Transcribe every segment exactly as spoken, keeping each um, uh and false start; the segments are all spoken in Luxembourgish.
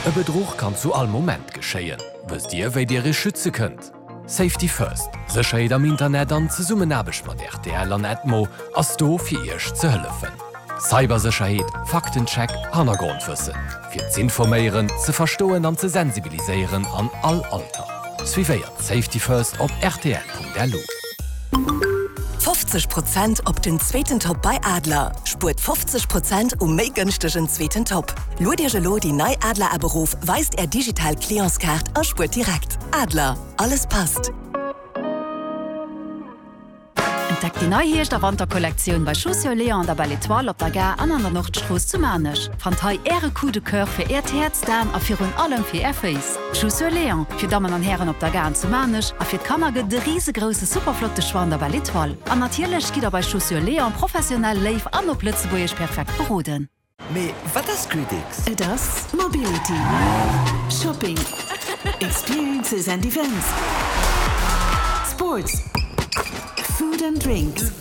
E Bedruch kann zu all Moment geschéien. Wësst Dir, wéi Dir Iech schütze kënnt? Safety First, Sécherheet am Internet an Zesummenaarbecht mat R T L an Edmo ass do fir Iech ze hëllefen. Cybersécherheet, Faktencheck, Hannergrondwëssen. Fir z'informéieren, ze verstoen an ze sensibiliséieren an all Alter. Suivéiert Safety First op R T L Punkt L U. fofzeg Prozent op den zweeten Top bei Adler. Spuert fofzeg Prozent um méi gënschtegen zweeten Top. Luet Iech elo déi nei Adler App erof, weist är digital Clientskaart a spuert direkt. Adler, alles passt. Entdeckt déi nei Hierscht- a Wanterkollektioun bei Chaussures Léon an der Belle Étoile op der Gare an an der Nordstrooss zu Maarnech. Fannt hei äre Coup de Coeur fir äert Häerz, d'An a virun allem fir är Féiss. Chaussures Léon fir Dammen an Hären op der Gare zu Maarnech a fir d'Kanner gëtt de risegrousse superflotte Choix an der Belle Étoile. An natierlech gitt der bei Chaussures Léon professionell léif an op Lëtzebuergesch perfekt beroden. Mee wat ass GridX? Et ass Mobility, Shopping, Experiences and Events, Sports, Food and Drinks.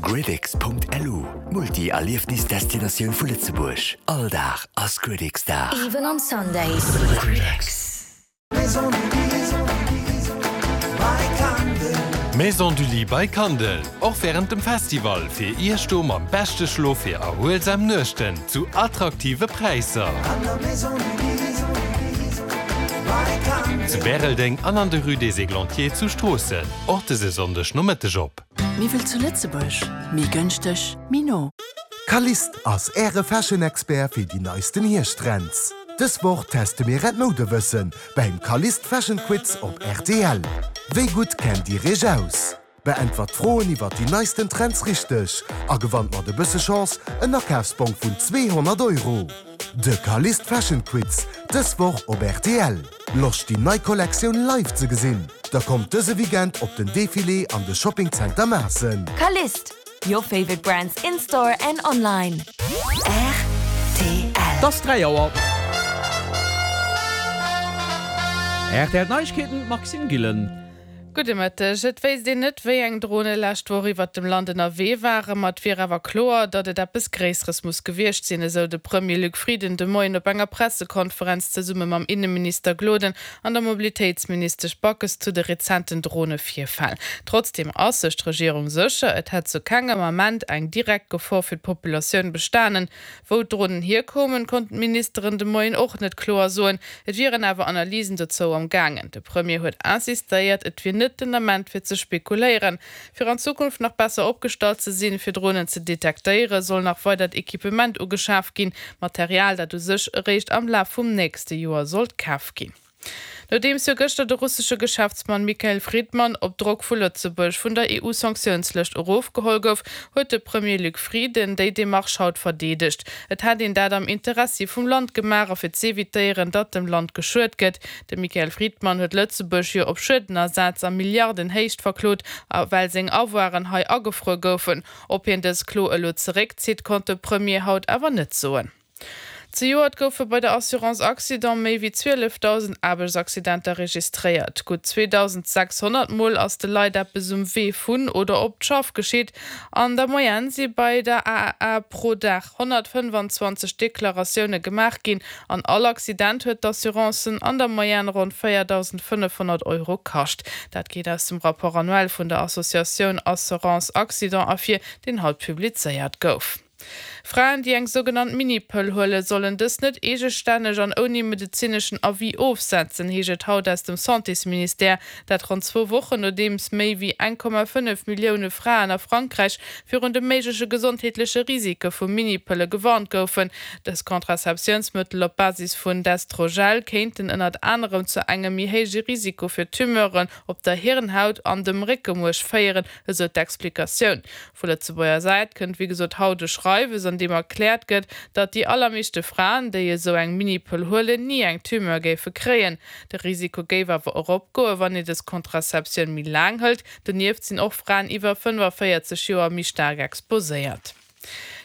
GridX Punkt L U, Multi-Erliefnisdestinatioun vu Lëtzebuerg. All Dag ass GridX Dag. Even on Sundays. GridX. Maison du Lit by Kandel. Maison du Lit by Kandel. Och wärend dem Festival fir Iech do mam beschte Schlof fir erhuelsam Nuechten zu attraktive Präisser. An der Maison du Lit by Kandel. Zu Bäreldeng an an der Rue des Églantiers zu Stroossen. Och dëse Sonndeg Nomëtteg op. Miwwel zu Lëtzebuerg, méi gënschteg, méi no. Kalist ass äre Fashion-Expert fir déi neisten Hierschttrends. Dës Woch teste mir äert Moudewëssen beim Kalist Fashion Quiz op R T L. Wéi gutt kennt Dir Iech aus? Beäntwert Froen iwwer déi neisten Trends richteg a gewannt mat e bësse Chance en Akafsbong vun zweehonnert Euro. De Kalist Fashion Quiz dës Woch op R T L. Loscht déi nei Kollektioun live ze gesinn? Da kommt dëse Weekend op den Defilé an de Shoppingcenter Maassen. Kalist, your favorite brands in store and online. R T L. Et ass dräi Auer. R T L Neiegkeeten, Maxime Gillen. Gudde Mëtteg. Et wéisst een net, wéi eng Drone lescht Woch iwwer dem Land ënnerwee waren, ma et wier awer kloer, datt et eppes Gréisseres muss gewiescht sinn, esou de Premier Luc Frieden de Moien op enger Pressekonferenz zesumme mam Inneminister Gloden an der Mobilitéitsministesch Backes zu de rezenten Dronevirfäll. Trotzdeem ass sech d'Regierung sécher, et hätt zu kengem Ament eng direkt Gefor fir d'Populatioun bestanen. Wou d'Dronen hierkoumen, konnten d'Ministeren de Moien och net kloer soen. Et wieren awer Analysen dozou am gaangen. De Premier huet insistéiert, et wier net den Ament fir ze spekuléieren. Fir an Zukunft nach besser opgestallt ze sinn, fir Dronen ze detektéieren, soll nach weidert Equipement ugeschaaft ginn, Material, dat u sech eréischt am Laf vum nächste Joer sollt kaf ginn. Nodeems jo gëschter de russesche Geschäftsmann Michael Fridman op Drock vu Lëtzebuerg vun der E U-Sanktiounslëscht erofgeholl gouf, huet de Premier Luc Frieden déi Demarche haut verdeedegt. Et hätt een dat am Interessi vum Land gemaach a fir z'evitéieren, datt dem Land geschuet gëtt. De Michael Fridman huet Lëtzebuerg jo op Schuedenersaz a Milliardenhéicht verklot, well seng Avoiren hei agefruer goufen. Ob hien dës Klo elo zeréckzitt, konnt de Premier haut awer net soen. Zejoert goufe bei der Assurance Accident méi wéi zwielefdausend Aarbechtsaccidenter registréiert. Gutt zweedausendsechshonnert Mol ass de Leit eppes um Wee vun oder op d'Schaff geschitt. An der Moyenne si bei der A A A pro Dag honnertfënnefanzwanzeg Deklaratioune gemaach ginn. An all Accident huet d'Assurancen an der Moyenne ronn véierdausendfënnefhonnert Euro kascht. Dat geet aus dem Rapport annuel vun der Associatioun Assurance Accident ervir, deen haut publizéiert gouf. Fraen, déi eng sougenannt Minipëll huelen, sollen dës net eegestänneg an ouni medezineschen Avis ofsetzen, heescht et haut aus dem Santésministère. Dat ronn zwou Wochen nodeems méi wéi eng Komma fënnef Millioune Fraen a Frankräich virun de méigleche gesondheetleche Risike vu Minipëlle gewarnt goufen. Dës Kontrazeptiounsmëttel op Basis vun Destrogel kéinten ënnert anerem zu engem méi héije Risiko fir Tumeuren op der Hirnhaut an dem Réckemuerch féieren, esou d'Explikatioun. Vu Lëtzebuerger Säit kënnt wéi gesot haut e Schreiwes, an deem erkläert gëtt, datt déi allermeeschte Fraen, déi esou eng Minipëll huelen, ni eng Tumeur géife kréien. De Risiko géif awer eropgoen, wann een dës Kontrazeptioun méi laang hëlt. Donieft sinn och Fraen iwwer fënnefavéierzeg Joer méi staark exposéiert.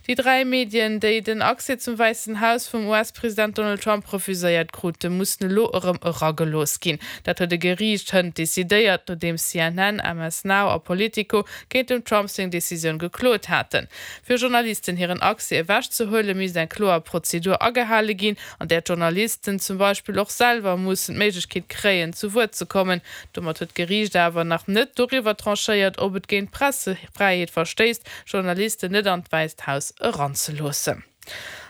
Déi dräi Medien, déi den Accès zum Wäissen Haus vum US-President Donald Trump refuséiert kruten, mussen elo erëm eragelooss ginn. Dat huet e Geriicht hënt decidéiert, nodeems C N N, M S Now a Politico géint dem Trump seng Decisioun geklot haten. Fir Journalisten hiren Accès ewechzehuelen, misst eng kloer Prozedur agehale ginn, an där d'Journalisten zum Beispill och selwer mussen d'Méiglechkeet kréien, zu Wuert ze kommen. Domat huet d'Geriicht awer nach net doriwwer tranchéiert, ob et géint d'Pressefräiheet verstéisst, Journalisten net an d'Wäisst Haus eranzeloossen.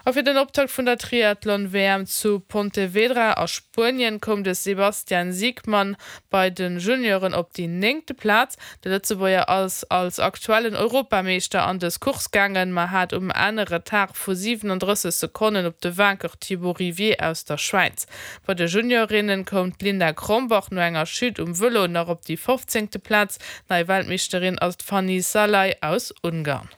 A fir den Optakt vun der Triathlon-W M zu Pontevedra a Spuenien koum de Sebastian Siegmann bei de Junioren op déi néngte Plaz. De Lëtzebuerger ass als aktuellen Europameeschter an dës Course gaangen, ma hat um Enn e Retard vu siwenendrësseg Sekonnen op de Vainqueur Thibaut Rivier aus der Schwäiz. Bei de Juniorinnen koum d'Linda Krombach no enger Chute um Vëlo nach op déi fofzéngte Plaz. Nei Weltmeeschterin ass d'Fanny Szalai aus Ungarn.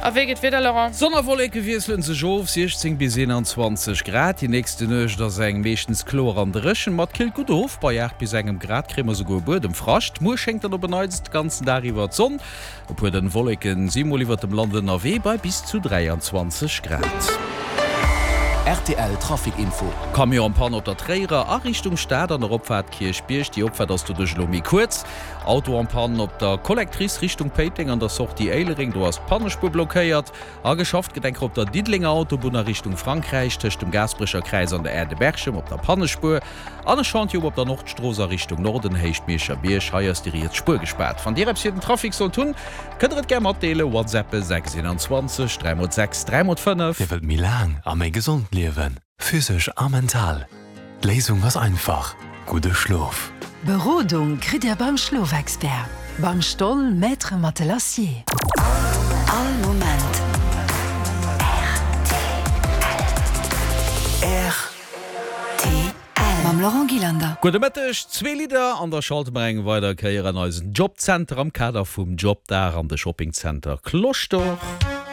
A wéi geet d'Wieder, Laurent? Sonn a Wolleke wiesselen sech of, siechzéng bis eenanzwanzeg Grad. Déi nächste Nuecht ass eng meeschtens kloer an dréchen, ma et killt gutt of, bei aacht bis engem Grad kréie mer souguer Buedemfrascht. Muer schéngt dann op en Neits de ganzen Dag iwwer d'Sonn, e puer dënn Wolleke si mol iwwert dem Land ënnerwee, bei bis zu dräianzwanzeg Grad. R T L Trafic Info. Camion en panne op der Tréierer a Richtung Stad an der Opfaart Kierchbierg. Déi Opfaart ass doduerch elo méi kuerz. Auto en panne op der Collectrice Richtung Péiteng an der Sortie Éilereng, do ass d'Pannespuer blockéiert. A geschafft gëtt enker op der Diddelenger Autobunn a Richtung Frankräich tëscht dem Gaasperecher Kräiz an der Aire de Berchem op der Pannespuer. An e Chantier op der Nordstrooss a Richtung Norden, Héicht Mierscher Bierg, hei ass déi riets Spuer gespaart. Wann Dir eppes fir den Trafic sollt hunn, kënnt der et gär matdeelen, WhatsAppe sechs eenanzwanzeg dräi mol sechs dräi mol fënnef. Dir wëllt méi laang a méi gesond liewen, physesch a mental? D'Léisung ass einfach, gudde Schlof. Berodung kritt Dir beim Schlofexpert, beim Stoll Maître Matelassier. All Moment R T L. Mam Laurent Gillander. Gudde Mëtteg, zwee Lidder an da schalte mer eng weider Kéier an eisen Jobcenter am Kader vum Jobdag an de Shoppingcenter Cloche d'Or.